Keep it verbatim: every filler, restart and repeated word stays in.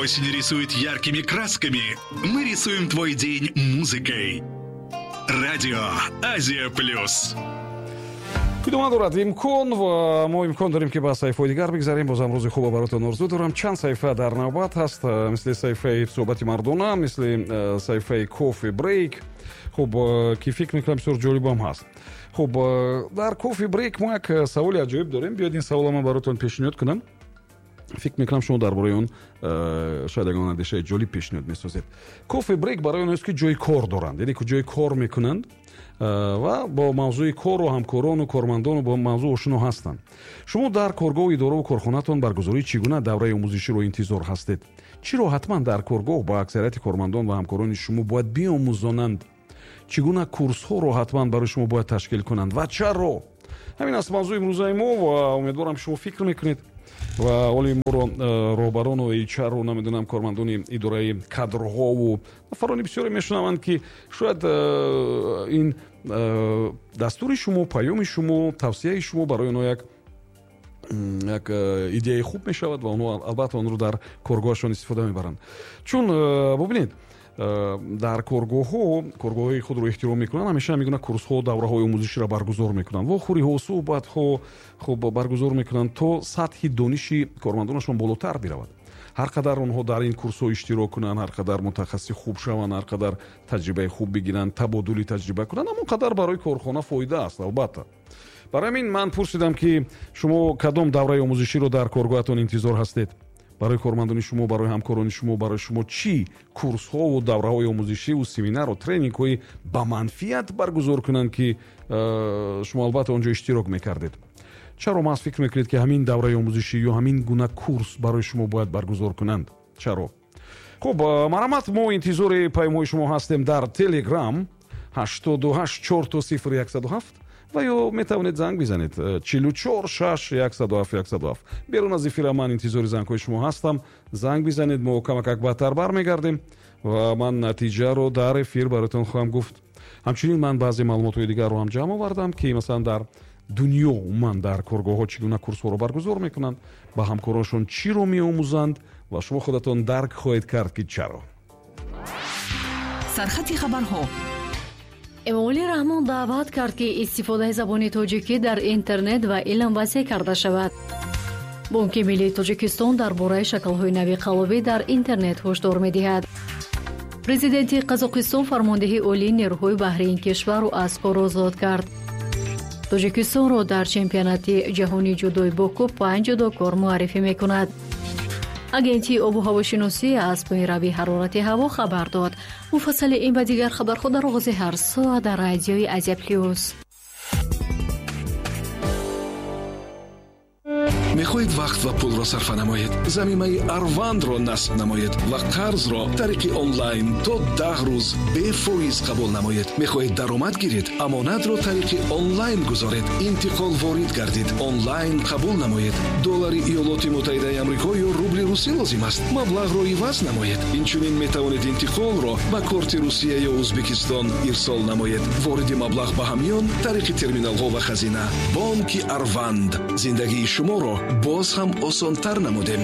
Осень рисует яркими красками, мы рисуем твой день музыкой. Радио Азия Плюс. Идома дорад имкон ва мо имкон дорем, ки ба саҳифаҳои дигар бигзарем. Бозам рӯзи хуба баротон орзу дорам. Чанд саҳифа дар навбат ҳаст, мисли саҳифаи суҳбати мардона, мисли саҳифаи Coffee Break, хуб, ки фикр мекунам, бисёр ҷолибам ҳаст. Хуб, дар Coffee Break мо як саволи аҷоиб дорем. Биёед, ин савола ман баротон пешниҳод кунам. Фикр мекунам, шумо дар бораи он шояд ягон андешаи ҷолиб пешниҳод месозед. Coffee Break барои онҳоест, ки ҷои кор доранд, яъне ки ҷои кор мекунанд ва бо мавзӯи кору ҳамкорону кормандону бо мавзӯъ ошино ҳастанд. Шумо дар коргоҳу идораву корхонатон баргузории чӣ гуна давраи омӯзиширо интизор ҳастед? Чиро ҳатман дар коргоҳ ба аксарияти кормандон ва ҳамкорони шумо бояд биомӯзонанд? Чӣ гуна курсҳоро ҳатман барои шумо бояд ташкил кунанд ва чаро? Ҳамин аст мавзӯи имрӯзаи мо ва умедворам, шумо фикр мекунед ва оли моро роҳбарону H R-у, намедонам, кормандони идораи кадрҳову нафарони бисёре мешунаванд, ки шояд ин дастури шумо, паёми шумо, тавсияи шумо барои онҳо як як идеяи хуб мешавад ва онҳо албатта онро дар коргоҳашон истифода мебаранд. Чун бубинед, дар коргоҳҳо, коргоҳҳои худро эҳтиром мекунанд, ҳамеша ҳамин гуна курсҳо, давраҳои омӯзиширо баргузор мекунанд, вохӯриҳо, суҳбатҳо, хуб, баргузор мекунанд, то сатҳи дониши кормандонашон болотар биравад. Ҳар қадар онҳо дар ин курсҳо иштирок кунанд, ҳар қадар мутахассиси хуб шаванд, ҳар қадар таҷрибаи хуб бигиранд, табодули таҷриба кунанд, ҳамон қадар барои корхона фоида аст, албатта. Барои ҳамин ман пурсидам, ки шумо кадом давраи омӯзиширо дар коргоҳатон интизор ҳастед? Барои кормандони шумо, барои ҳамкорони шумо, барои шумо чӣ курсҳову давраҳои омӯзишиву семинару тренингҳои ба манфиат баргузор кунанд, ки э, шумо албатта он ҷо иштирок мекардед? Чаро маҳз фикр мекунед, ки ҳамин давраи омӯзишӣ ё ҳамин гуна курс барои шумо бояд баргузор кунанд? Чаро? Хуб, э, марҳамат, мо интизори паёмҳои шумо ҳастем дар Телеграм ҳаштоду ҳашт чор то сифр яксаду ҳафт ва ё метавонед занг бизанед чилу чор шаш яксаду ҳафт яксаду ҳафт. Берун аз эфира ман интизори зангҳои шумо ҳастам. Занг бизанед, мо камакак баъдтар бармегардем ва ман натиҷаро дар эфир бароятон хоҳам гуфт. Ҳамчунин ман баъзе маълумотҳои дигарро ҳам ҷамъ овардам, ки масалан дар дунё умуман дар коргоҳҳо чӣ гуна курсҳоро баргузор мекунанд, ба ҳамкороншон чиро меомӯзанд ва шумо худатон дарк хоҳед кард, ки чаро. Сархати хабарҳо. Эмомалӣ Раҳмон даъват кард, ки истифодаи забони тоҷикӣ дар интернет ва илм васеъ карда шавад. Бонки миллии Тоҷикистон дар бораи шаклҳои нави қаллобӣ дар интернет ҳушдор медиҳад. Президенти Қазоқистон фармондеҳи олии нерӯҳои баҳрии ин кишварро аз кор озод кард. Тоҷикистонро дар чемпионати ҷаҳонии ҷудои Боку панҷ ҷудокор муаррифӣ мекунад. Агентии обу ҳавошиносӣ аз поинравии ҳарорати ҳаво хабар дод. Муфассали ин ва дигар хабарҳо дар оғози ҳар соат дар радиои Азия Плюс. Мехоҳед вақт ва пулро сарфа намоед? Замимаи Арвандро насб намоед ва қарзро тариқи онлайн то даҳ рӯз бефоиз қабул намоед. Мехоҳед даромад гиред? Амонатро тариқи онлайн гузоред, интиқол ворид гардид, онлайн қабул намоед. Доллари Иёлоти Муттаҳидаи Амрико ё рубли русӣ лозим аст? Маблағро иваз намоед. Инчунин метавонед интиқолро ба корти Русия ё Ӯзбекистон ирсол намоед, вориди маблағ ба ҳамён тариқи терминалҳо ва хазина. Бонки Арванд: зиндагии шуморо боз ҳам осонтар намудем.